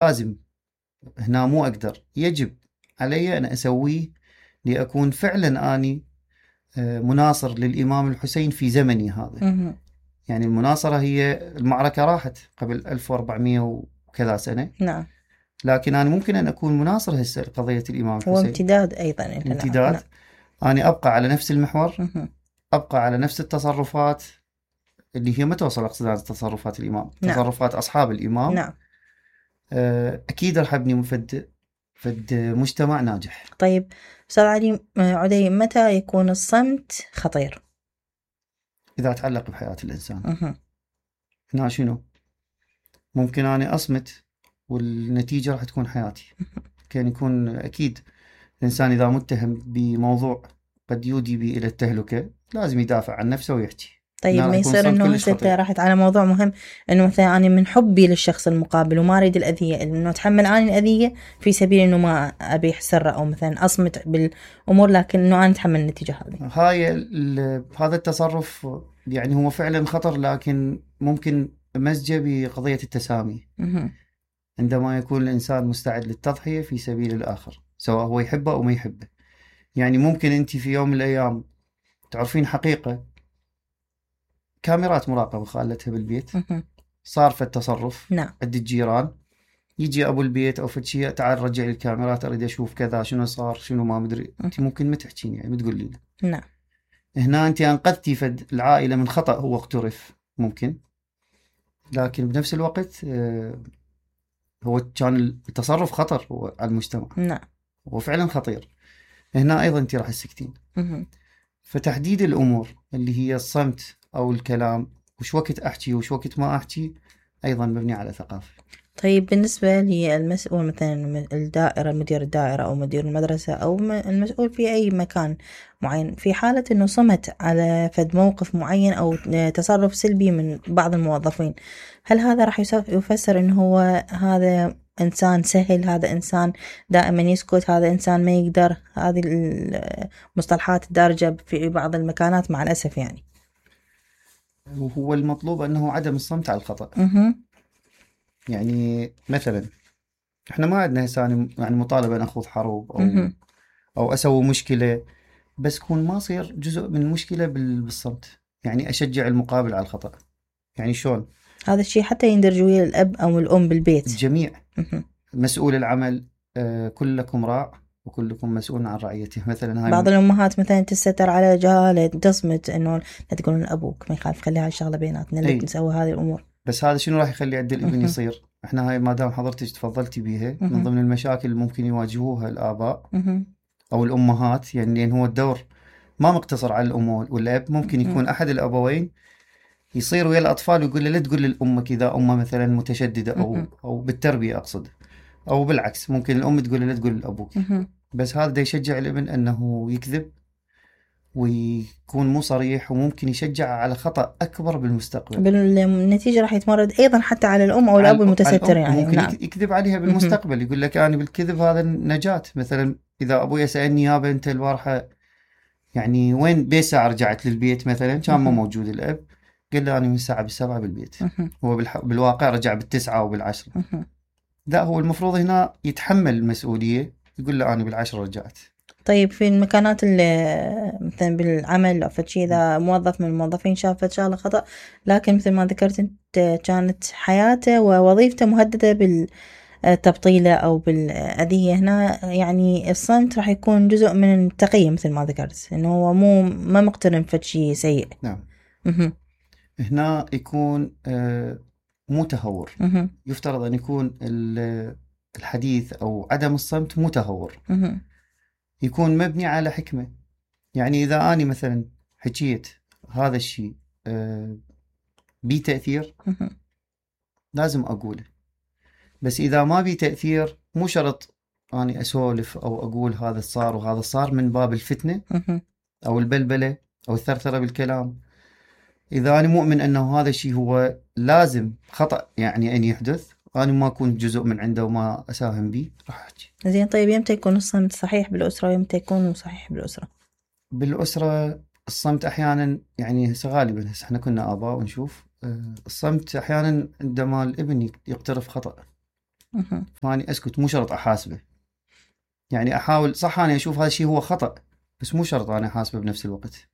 لازم هنا مو أقدر، يجب علي أن أسويه لأكون فعلا أني مناصر للإمام الحسين في زمني هذا. يعني المناصرة هي المعركة راحت قبل 1400 وكذا سنة. نعم. لكن أنا ممكن أن أكون مناصر هسه لقضية الإمام الحسين. وامتداد أيضا. امتداد. نعم. أنا أبقى على نفس المحور، أبقى على نفس التصرفات اللي هي ما توصل أقصد تصرفات الإمام. نعم. تصرفات أصحاب الإمام. نعم. أكيد رح أبني فد مجتمع ناجح. طيب أستاذ علي عدي، متى يكون الصمت خطير؟ إذا تعلق بحياة الإنسان. هنا شنو؟ ممكن أنا أصمت والنتيجة راح تكون حياتي. كان يكون أكيد الإنسان إذا متهم بموضوع قد يودي به إلى التهلكة لازم يدافع عن نفسه ويحكي. طيب ما يصير إنه هسه راحت على موضوع مهم، إنه مثلا أنا من حبي للشخص المقابل وما أريد الأذية، إنه أتحمل أنا الأذية في سبيل إنه ما أبي سر أو مثلا أصمت بالأمور، لكن إنه أنا أتحمل النتيجة هذه. هذا التصرف يعني هو فعلا خطر، لكن ممكن مزجه بقضية التسامي. عندما يكون الإنسان مستعد للتضحية في سبيل الآخر، سواء هو يحبه أو ما يحبه. يعني ممكن أنت في يوم من الأيام تعرفين حقيقة، كاميرات مراقبة خالتها بالبيت، صار في التصرف. نعم. عند الجيران يجي أبو البيت أو فتشي، تعال رجع لي الكاميرات أريد أشوف كذا شنو صار شنو ما مدري. أنت ممكن ما تحكين، يعني ما تقولي له. نعم. هنا أنت أنقذتي فد العائلة من خطأ هو اقترف ممكن، لكن بنفس الوقت هو كان التصرف خطر هو على المجتمع. نعم. هو فعلا خطير. هنا أيضا أنت راح تسكتين. فتحديد الأمور اللي هي الصمت أو الكلام، وش وقت أحكي وش وقت ما أحكي، أيضا مبني على ثقافة. طيب بالنسبة للمسؤول مثلا الدائرة، مدير الدائرة أو مدير المدرسة أو المسؤول في أي مكان معين، في حالة أنه صمت على فد موقف معين أو تصرف سلبي من بعض الموظفين، هل هذا راح يفسر أنه هو هذا إنسان سهل، هذا إنسان دائما يسكت، هذا إنسان ما يقدر؟ هذه المصطلحات الدارجة في بعض المكانات مع الأسف. يعني وهو المطلوب أنه عدم الصمت على الخطأ. يعني مثلا احنا ما عندنا هسه يعني مطالبة ناخذ حروب او اسوي مشكلة، بس كون ما صير جزء من المشكلة بالصمت. يعني اشجع المقابل على الخطأ. يعني شلون هذا الشيء حتى يندرج ويا الاب او الام بالبيت الجميع. مسؤول العمل كلكم راع وكلكم مسؤول عن رعيته. مثلا هاي بعض الامهات مثلا تستتر على جهاله، تصمت انه لا تقولون ابوك ما يخالف، خليها الشغله بيناتنا اللي نسوي هذه الامور. بس هذا شنو راح يخلي عند الابن يصير؟ احنا هاي ما دام حضرتك تفضلتي بيها من ضمن المشاكل اللي ممكن يواجهوها الاباء او الامهات. يعني لان هو الدور ما مقتصر على الام والاب، ممكن يكون احد الابوين يصير ويا الاطفال ويقول له لا تقول لامك اذا امه مثلا متشدده او بالتربيه اقصد، او بالعكس ممكن الام تقول له لا تقول لابوك. بس هذا دا يشجع الابن انه يكذب ويكون مو صريح، وممكن يشجع على خطأ أكبر بالمستقبل. بالنتيجة راح يتمرد أيضا حتى على الأم أو الأب المتستر. يعني ممكن يكذب عليها بالمستقبل، يقول لك أنا بالكذب هذا النجاة. مثلا إذا أبوي سألني يابا أنت البارحة يعني وين بساعة رجعت للبيت مثلا، كان ما موجود الأب، قال له أنا من الساعة 7 بالبيت. هو بالواقع رجع 9 أو 10. لا، هو المفروض هنا يتحمل المسؤولية، يقول له أنا 10 رجعت. طيب في المكانات اللي مثلا بالعمل أو فشي، إذا موظف من الموظفين شافت شغلة خطأ، لكن مثل ما ذكرت أنت كانت حياته ووظيفته مهددة بالتبطيلة أو بالأذية، هنا يعني الصمت راح يكون جزء من التقية مثل ما ذكرت، إنه هو ما مقترن فشي سيء. نعم. هنا يكون مو تهور. يفترض أن يكون الحديث أو عدم الصمت مو تهور، يكون مبني على حكمة. يعني إذا أنا مثلا حكيت هذا الشيء بي تأثير لازم أقوله، بس إذا ما بي تأثير مو شرط أنا أسولف أو أقول هذا صار وهذا صار من باب الفتنة أو البلبلة أو الثرثرة بالكلام. إذا أنا مؤمن أنه هذا الشيء هو لازم خطأ يعني أن يحدث، أنا ما أكون جزء من عنده وما أساهم به، راح أحكي. زين. طيب يمتى يكون الصمت صحيح بالأسرة ويمتى يكون صحيح بالأسرة؟ بالأسرة الصمت أحيانا يعني غالبا احنا كنا آباء ونشوف الصمت أحيانا عندما الابن يقترف خطأ. فاني اسكت، مو شرط احاسبه. يعني احاول، صح انا اشوف هذا الشيء هو خطأ، بس مو شرط انا احاسبه بنفس الوقت.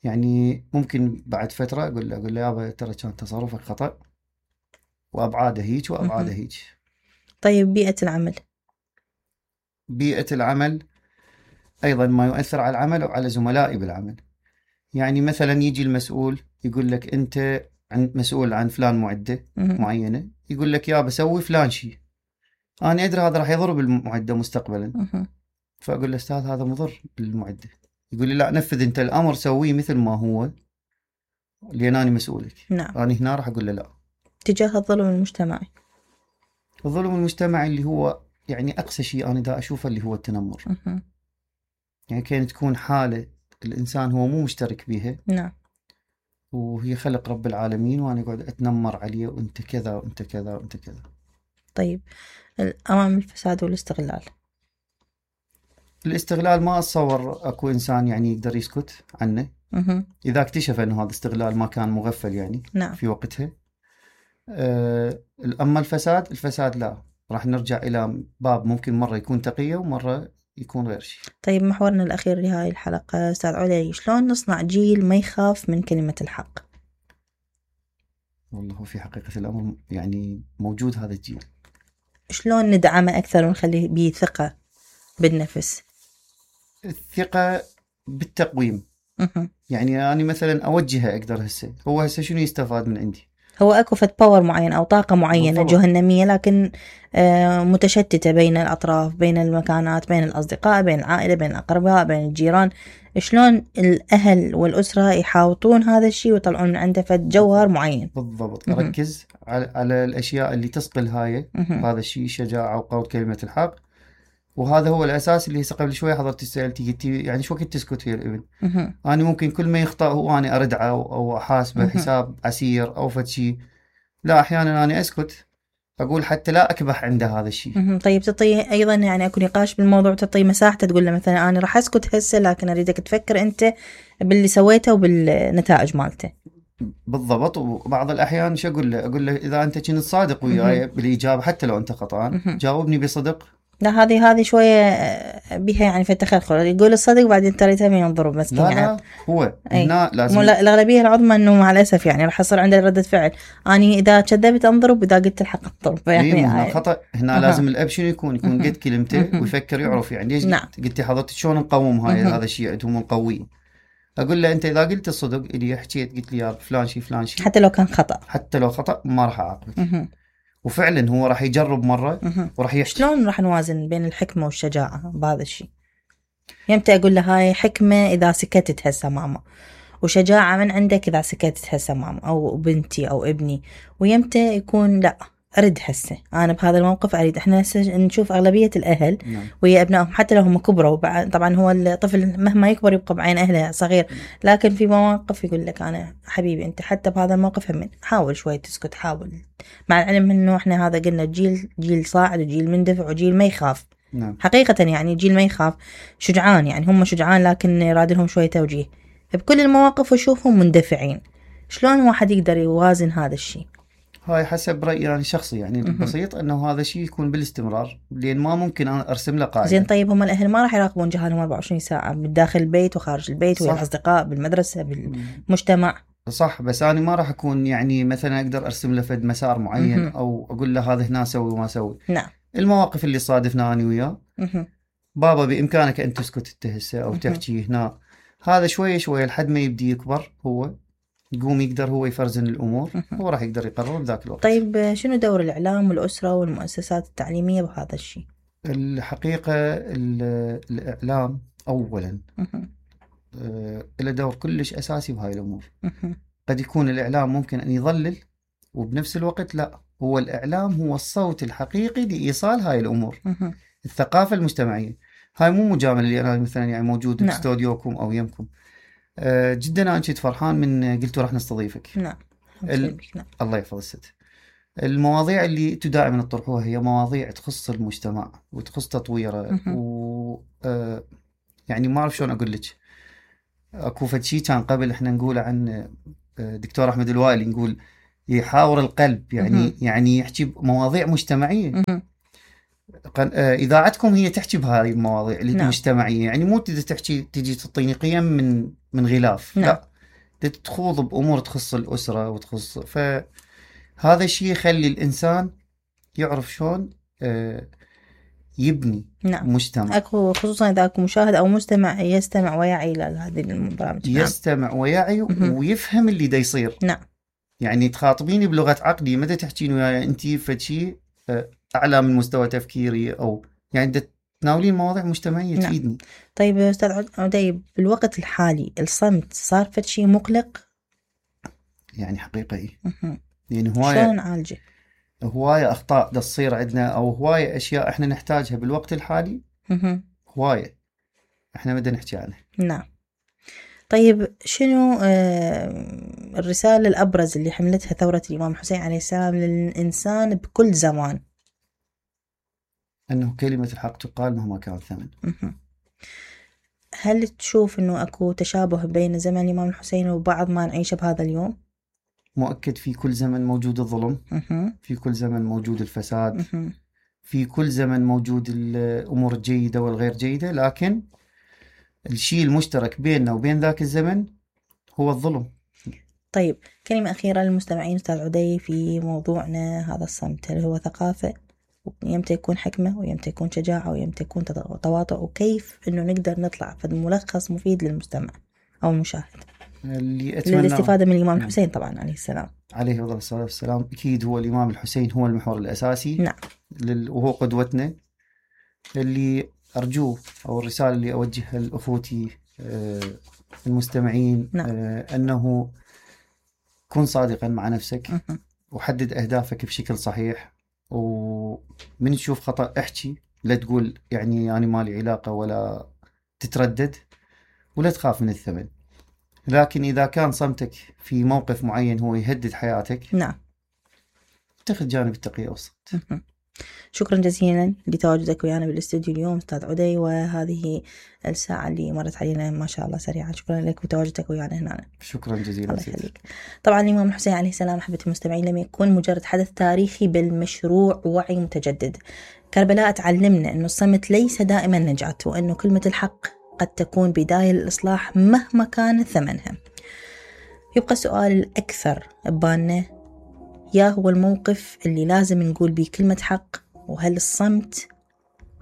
يعني ممكن بعد فترة اقول له يابا ترى كان تصرفك خطأ، وابعاده هيك وابعاده هيك. طيب بيئة العمل؟ بيئة العمل ايضا ما يؤثر على العمل وعلى زملائي بالعمل. يعني مثلا يجي المسؤول يقول لك انت مسؤول عن فلان معدة معينة، يقول لك يا بسوي فلان شيء، انا ادري هذا راح يضر بالمعدة مستقبلا. فاقول له استاذ هذا مضر بالمعدة. يقول لي لا، نفذ انت الامر، سويه مثل ما هو، لان انا مسؤولك. نعم. انا هنا راح اقول له لا. تجاه الظلم المجتمعي؟ الظلم المجتمعي اللي هو يعني اقصى شيء انا دا اشوفه اللي هو التنمر. يعني كانت تكون حالة الانسان هو مو مشترك بها. نعم. وهي خلق رب العالمين، وانا اقعد اتنمر عليه، وانت كذا وانت كذا وانت كذا. طيب امام الفساد والاستغلال؟ الاستغلال ما اتصور اكو انسان يعني يقدر يسكت عنه اذا اكتشف انه هذا استغلال ما كان مغفل يعني. نعم. في وقتها. اما الفساد لا، راح نرجع الى باب ممكن مره يكون تقية ومره يكون غير شيء. طيب محورنا الاخير لهاي الحلقة استاذ علي، شلون نصنع جيل ما يخاف من كلمة الحق؟ والله في حقيقة الامر يعني موجود هذا الجيل. شلون ندعمه اكثر ونخليه بيه ثقة بالنفس؟ الثقة بالتقويم. يعني أنا مثلا أوجهه أقدر هسه، هو هسه شنو يستفاد من عندي؟ هو أكو فد باور معين أو طاقة معينة بالضبط. جهنمية، لكن متشتتة بين الأطراف، بين المكانات، بين الأصدقاء، بين العائلة، بين الأقرباء، بين الجيران. شلون الأهل والأسرة يحاوطون هذا الشيء ويطلعون من عنده فد جوهر معين؟ بالضبط. أركز على الأشياء اللي تثقل هذا الشيء، الشجاعة وقول كلمة الحق. وهذا هو الأساس اللي هسه قبل شوي حضرتي سألتي قلتي يعني شو وقت تسكت يا الابن؟ أنا ممكن كل ما يخطأ هو أنا أردعه أو أحاسبه حساب عسير أو فد شيء. لا، أحيانا أنا أسكت، أقول حتى لا أكبح عنده هذا الشيء. طيب تعطيه أيضا يعني أكو نقاش بالموضوع، تعطيه مساحته، تقول له مثلا أنا راح أسكت هسه لكن أريدك تفكر أنت باللي سويته وبالنتائج مالته. بالضبط. وبعض الأحيان شو أقول له إذا أنت كنت صادق وياي بالإجابة حتى لو أنت خطأان، جاوبني بصدق. لا هذه شوية بها يعني في التخلخل، يقول الصدق بعدين ترى من ينضرب مسكين. لا يعني لا، هو هنا لازم الأغلبية العظمى إنه مع الأسف يعني راح يصير عنده ردة فعل، أني إذا كذبت أنضرب وإذا قلت الحق أنضرب. يعني هنا خطأ. هنا لازم الأب شنو يكون قد كلمته ويفكر يعرف يعني ليش. نعم. قلتي حضرتك شلون نقوم هذا الشيء عندهم نقويه. أقول له أنت إذا قلت الصدق اللي حكيت قلت لي يا فلان شيء حتى لو كان خطأ، حتى لو خطأ ما راح أعاقبك. وفعلا هو راح يجرب مرة وراح يحكي. شلون راح نوازن بين الحكمة والشجاعة بهذا الشيء؟ يمتى أقول له هاي حكمة إذا سكتت هسه ماما، وشجاعة من عندك إذا سكتت هسه ماما أو بنتي أو ابني، ويمتى يكون لا أرد هسه أنا بهذا الموقف أريد. إحنا هسه نشوف أغلبية الأهل ويا أبنائهم حتى لو هم كبروا، طبعا هو الطفل مهما يكبر يبقى بعين أهله صغير، لكن في مواقف يقول لك أنا حبيبي أنت حتى بهذا الموقف هم حاول شوي تسكت، حاول، مع العلم إنه إحنا هذا قلنا جيل صاعد وجيل مندفع وجيل ما يخاف. حقيقة يعني جيل ما يخاف، شجعان، يعني هم شجعان لكن يراد لهم شوية توجيه بكل المواقف وشوفهم مندفعين. شلون واحد يقدر يوازن هذا الشيء؟ هاي حسب رأيي يعني شخصي، يعني البسيط انه هذا الشيء يكون بالاستمرار، لان ما ممكن انا ارسم له قاعده. زين طيب هم الاهل ما راح يراقبون جهالهم 24 ساعه بداخل البيت وخارج البيت ويا الاصدقاء بالمدرسه بالمجتمع؟ صح، بس انا ما راح اكون يعني مثلا اقدر ارسم له فد مسار معين او اقول له هذا هنا سوي وما سوي. نعم. المواقف اللي صادفنا انا وياه، بابا بامكانك ان تسكت انت هسه او تحكي هنا، هذا شويه شويه لحد ما يبدي يكبر، هو يقوم يقدر هو يفرزن الأمور، هو راح يقدر يقرر بذاك الوقت. طيب شنو دور الإعلام والأسرة والمؤسسات التعليمية بهذا الشيء؟ الحقيقة الإعلام أولا له دور كلش أساسي بهاي الأمور. قد يكون الإعلام ممكن أن يضلل، وبنفس الوقت لا، هو الإعلام هو الصوت الحقيقي لإيصال هاي الأمور. الثقافة المجتمعية هاي مو مجاملة اللي أنا مثلا يعني موجود باستوديوكم أو يمكم. جدا أنا كنت فرحان من قلتوا راح نستضيفك. نعم. الله يحفظ الست. المواضيع اللي انتم دائما تطرحوها هي مواضيع تخص المجتمع وتخص تطويره يعني ما اعرف شلون اقول لك. اكو فد شيء كان قبل احنا نقول عن دكتور احمد الوائلي، نقول يحاور القلب، يعني يحكي بمواضيع مجتمعية. إذاعتكم هي تحكي بهذه المواضيع المجتمعية، يعني مو تجي تعطيني قيم من غلاف، لا، تخوض بأمور تخص الأسرة وتخص، فهذا الشيء يخلي الإنسان يعرف شلون يبني مجتمع. أكو خصوصا إذا أكو مشاهد أو مستمع يستمع ويعي لهذه البرامج. يستمع ويعي ويفهم اللي دا يصير. يعني تخاطبيني بلغة عقلي، متى تحكين وياي أنتي فشي أعلى من مستوى تفكيري، أو يعني دا تناولين مواضيع مجتمعية تفيدني. طيب أستاذ عدي، بالوقت الحالي الصمت صار فشي مقلق؟ يعني حقيقة إيه. يعني هواية شلون نعالجه؟ هواية أخطاء دا تصير عندنا، أو هواية أشياء إحنا نحتاجها بالوقت الحالي. هواية إحنا بدنا نحكي عنها. طيب شنو الرسالة الأبرز اللي حملتها ثورة الإمام الحسين عليه السلام للإنسان بكل زمان؟ أنه كلمة الحق تقال مهما كان الثمن. هل تشوف أنه أكو تشابه بين زمن الإمام الحسين وبعض ما نعيشه بهذا اليوم؟ مؤكد، في كل زمن موجود الظلم، في كل زمن موجود الفساد، في كل زمن موجود الأمور الجيدة والغير جيدة، لكن الشيء المشترك بيننا وبين ذاك الزمن هو الظلم. طيب كلمة أخيرة للمستمعين أستاذ عدي في موضوعنا هذا الصمت، هل هو ثقافة؟ ويمتى يكون حكمة، ويمتى يكون شجاعة، ويمتى يكون تواطؤ، وكيف إنه نقدر نطلع في ملخص مفيد للمستمع أو المشاهد اللي أتمنى للاستفادة من الإمام الحسين طبعا عليه السلام. عليه الصلاة والسلام. أكيد هو الإمام الحسين هو المحور الأساسي. وهو قدوتنا. اللي أرجوه أو الرسالة اللي أوجهها لأخوتي المستمعين، أنه كن صادقا مع نفسك، وحدد أهدافك بشكل صحيح، ومن تشوف خطأ احكي، لا تقول يعني أنا مالي علاقة، ولا تتردد، ولا تخاف من الثمن. لكن إذا كان صمتك في موقف معين هو يهدد حياتك، اتخذ جانب التقية والصمت. شكرا جزيلا لتواجدك ويانا بالاستوديو اليوم أستاذ عدي، وهذه الساعة اللي مرت علينا ما شاء الله سريعا. شكرا لك وتواجدك ويانا هنا. شكرا جزيلا. الله يخليك. طبعا الإمام الحسين عليه السلام أحبة المستمعين لم يكن مجرد حدث تاريخي، بل مشروع وعي متجدد. كربلاء تعلمنا أنه الصمت ليس دائما نجاة، وأنه كلمة الحق قد تكون بداية للإصلاح مهما كان ثمنها. يبقى السؤال الأكثر ببالنا، يا هو الموقف اللي لازم نقول بيه كلمة حق؟ وهل الصمت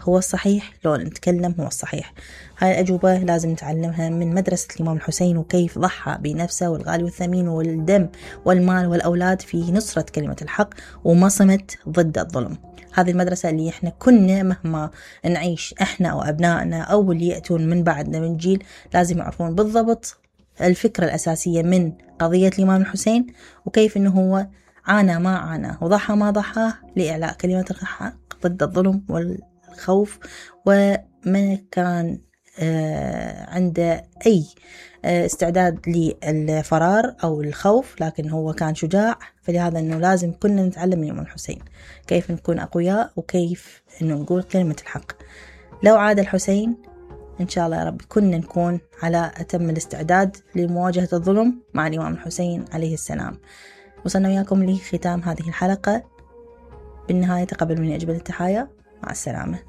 هو الصحيح لو نتكلم هو الصحيح؟ هاي الأجوبة لازم نتعلمها من مدرسة الإمام الحسين، وكيف ضحى بنفسه والغالي والثمين والدم والمال والأولاد في نصرة كلمة الحق، وما صمت ضد الظلم. هذه المدرسة اللي احنا كنا مهما نعيش احنا أو أبنائنا أو اللي يأتون من بعدنا من جيل لازم يعرفون بالضبط الفكرة الأساسية من قضية الإمام الحسين، وكيف إنه هو عانى ما عانى وضحى ما ضحى لإعلاء كلمة الحق ضد الظلم والخوف، وما كان عنده أي استعداد للفرار أو الخوف، لكن هو كان شجاع. فلهذا أنه لازم كنا نتعلم من الإمام الحسين كيف نكون أقوياء، وكيف أنه نقول كلمة الحق. لو عاد الحسين إن شاء الله يا رب كنا نكون على أتم الاستعداد لمواجهة الظلم مع الإمام الحسين عليه السلام. وصلنا وياكم لختام هذه الحلقة. بالنهاية تقبل مني أجمل التحايا، مع السلامة.